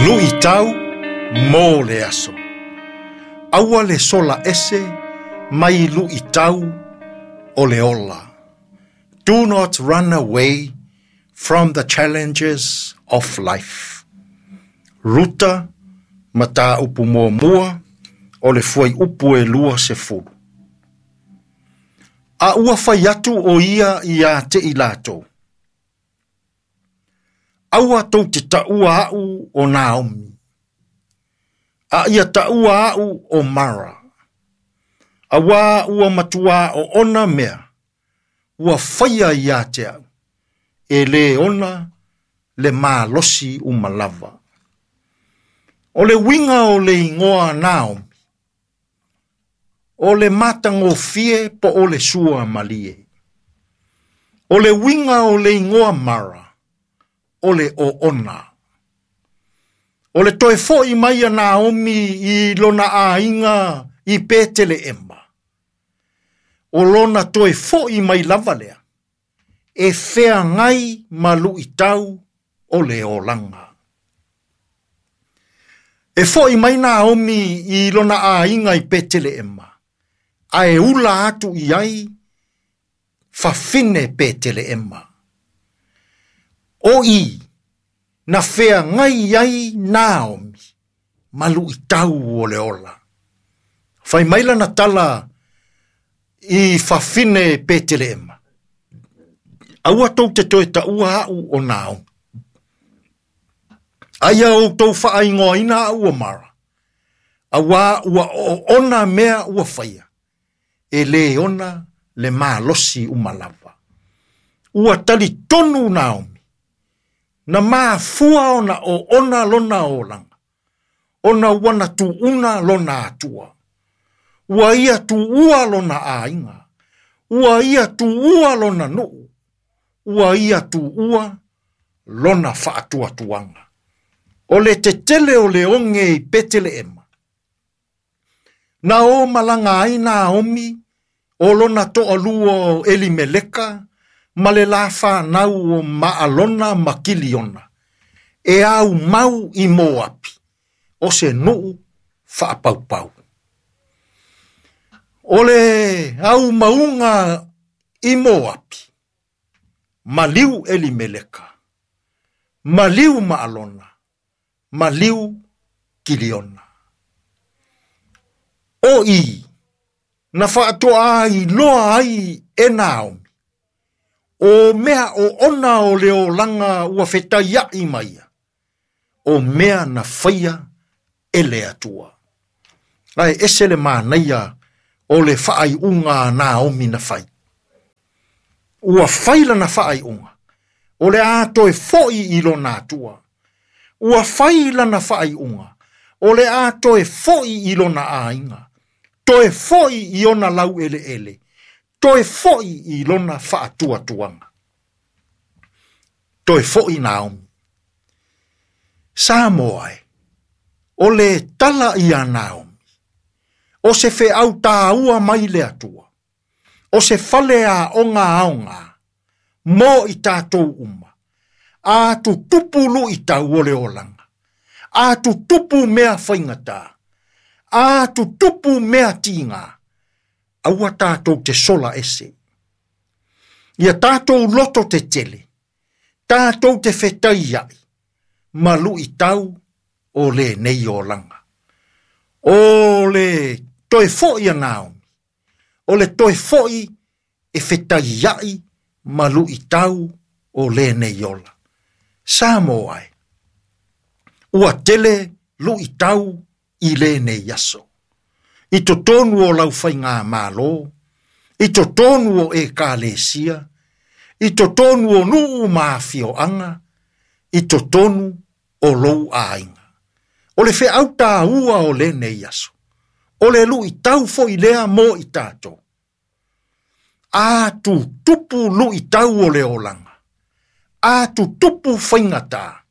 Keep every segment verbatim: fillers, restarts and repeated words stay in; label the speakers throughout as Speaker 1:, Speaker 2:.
Speaker 1: Luʻitau mo le aso. Aua le sola ese mai luʻitau o le ola. Do not run away from the challenges of life. Ruta mataupu muamua o le fuaiupu e luasefulu. A ua fai atu o ia ia te i latou. Aua tou te taua a'u o Naomi. A ia taua a'u o Mara. Auā ua matuā oona mea. Ua faia ia te au. E lē ona le malosi uma lava. O le uiga o le igoa Naomi. O le matagofie po o le sua malie. O le uiga o le igoa Mara. O le oona. O le toe foʻi mai a Naomi i lona aiga i Peteleema. O lona toe foʻi mai lava lea. E feagai ma luʻitau o le olaga. E foʻi mai Naomi i lona aiga i Peteleema. Ae ula atu i ai fafine Peteleema. O i na feagai ai Naomi ma luʻitau o le ola. Fai mai lana tala i fafine Peteleema. Aua tou te toe taua a'u o Naomi. Aia outou faaigoaina a'u o Mara. Auā ua oona mea ua faia. E lē ona le malosi uma lava. Ua talitonu Naomi. Na mafua ona oona lona olaga. Ona ua na tuuna lona Atua. Ua ia tuua lona aiga. Ua ia tuua lona nuu. Ua ia tuua lona faatuatuaga. O le tetele o le oge i Peteleema. Na o malaga ai Naomi o lona toalua o Elimeleka ma le la fanau o Maalona ma Kiliona. E aumau i Moapi o se nuu faapaupau. O le aumauga i Moapi, maliu Elimeleka, maliu Maalona, maliu Kiliona. O i, na faatoa iloa ai e Naomi, o mea oona o le olaga ua fetaiaʻi ma ia, o mea na faia e le Atua. Ae ese le manaia o le faaiuga a Naomi na fai. Ua fai lana faaiuga, o le a toe foʻi i lona Atua. Ua fai lana faaiuga, o le a toe foʻi i lona aiga. Toe foʻi i ona laueleele. Toe foʻi i lona faatuatuaga. Toe foʻi Naomi. Samoa e, o le tala ia Naomi. O se feau tāua mai le Atua. O se fale aoga aoga. Mo i tatou uma. A tutupu luʻitau o le olaga. A tutupu mea faigata. A tutupu mea tiga. Aua tatou te sola ese. Ia tatou loto tetele. Tatou te fetaiaʻi. Ma luʻitau o lenei olaga. O le toe foʻi a Naomi. O le toe foʻi e fetaiaʻi ma luʻitau o lenei ola. Samoa e. Ua tele luʻitau i lenei aso. I totonu o lau faigamālō, i totonu o ekalesia, i totonu o nuu ma afioaga, i totonu o lou aiga. O le feau tāua o lenei aso. O le luʻitau foʻi lea mo i tatou. A tutupu luʻitau o le olaga. A tutupu faigata.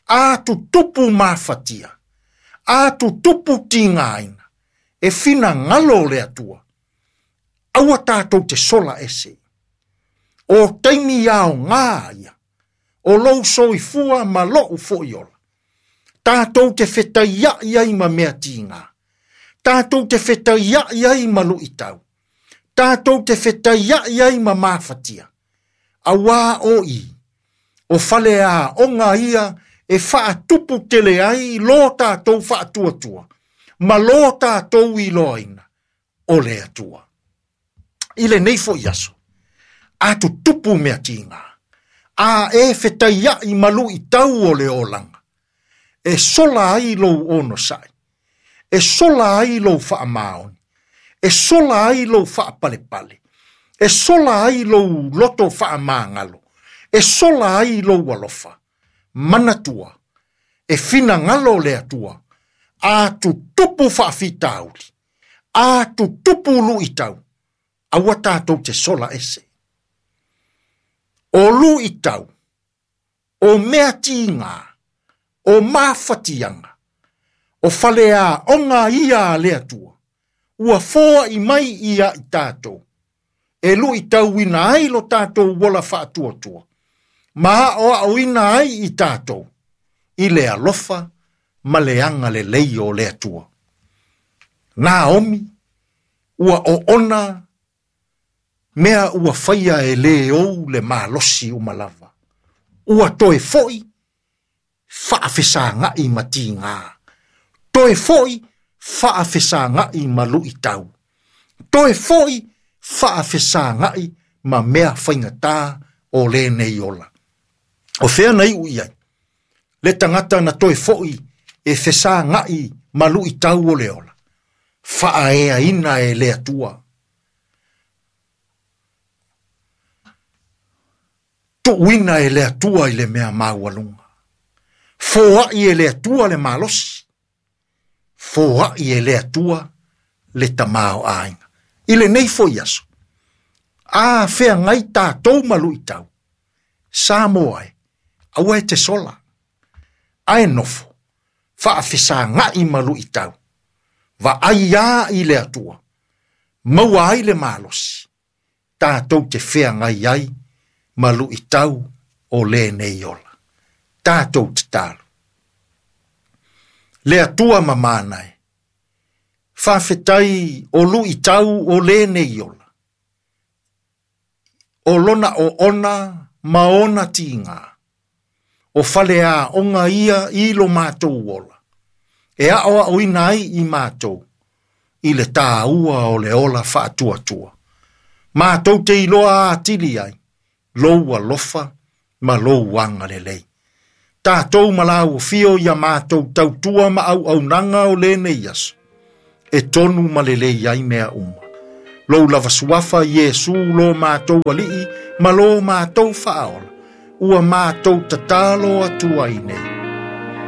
Speaker 1: A tutupu mafatia. A tutupu tigaina. E finagalo o le Atua. Aua tatou te sola ese. O taimi aogā ia. O lou soifua ma lou foʻi ola. Tātou te fetaia'i ai ma mea tīgā. Tātou te fetaia'i ai ma lu'itau. Tātou te fetaia'i ai ma mafatia. Auā o i, o fale aoga ia e faatupu tele ai lo tātou faatuatua, ma lo tātou iloaina o le Atua. I lenei fo'i aso, a tutupu mea tīgā, a e fetaia'i ma lu'itau o le olaga, e sola ai lou onosa'i, e sola ai lou faamaoni, e sola ai lou faapalepale, e sola ai lou loto faamagalo, e sola ai lou alofa, manatua, e finagalo le Atua, a tutupu faafitauli, a tutupu lu'itau, aua tātou te sola ese. O lu'itau, o mea tīgā, o mafatiaga, o fale aoga ia a le Atua, ua foa'i mai ia i tātou, e lu'itauina ai lo tātou ola faatuatua, ma aʻoaʻoina ai i tātou, i le alofa ma le agalelei o le Atua. Naomi, ua oona mea ua faia e lē ou le malosi uma lava. Ua toe fo'i faafesaga'i ma tīgā. Toe fo'i faafesaga'i ma lu'itau. Toe fo'i faafesaga'i ma mea faigata o lenei ola. O fea na i'u i ai, le tagata na toe fo'i e fesaga'i ma lu'itau o le ola, faaeaina e le Atua. Tu'uina e le Atua i le mea maualuga. Foa'i e le Atua le malosi. Foa'i e le Atua le tamaoaiga. I lenei fo'i aso, a feagai tātou ma lu'itau, Samoa e, aua e te sola, ae nofo, faafesaga'i ma lu'itau, vaai ā i le Atua, maua ai le malosi, tātou te feagai ai ma lu'itau o lenei ola. Tātou tatalo. Le Atua mamana e, faafetai o lu'itau o lenei ola, o lona oona ma ona tīgā, o fale aoga ia i lo mātou ola, e aʻoaʻoina ai i mātou, i le tāua o le ola faatuatua. Mātou te iloa atili ai, lou alofa ma lou agalelei. Tātou ma lau fio ia mātou tautua ma auaunaga o lenei aso, e tonu ma lelei ai mea uma. Lou lava suafa Iesu lo mātou ali'i ma lo mātou faaola, ua mātou tatalo atu ai nei.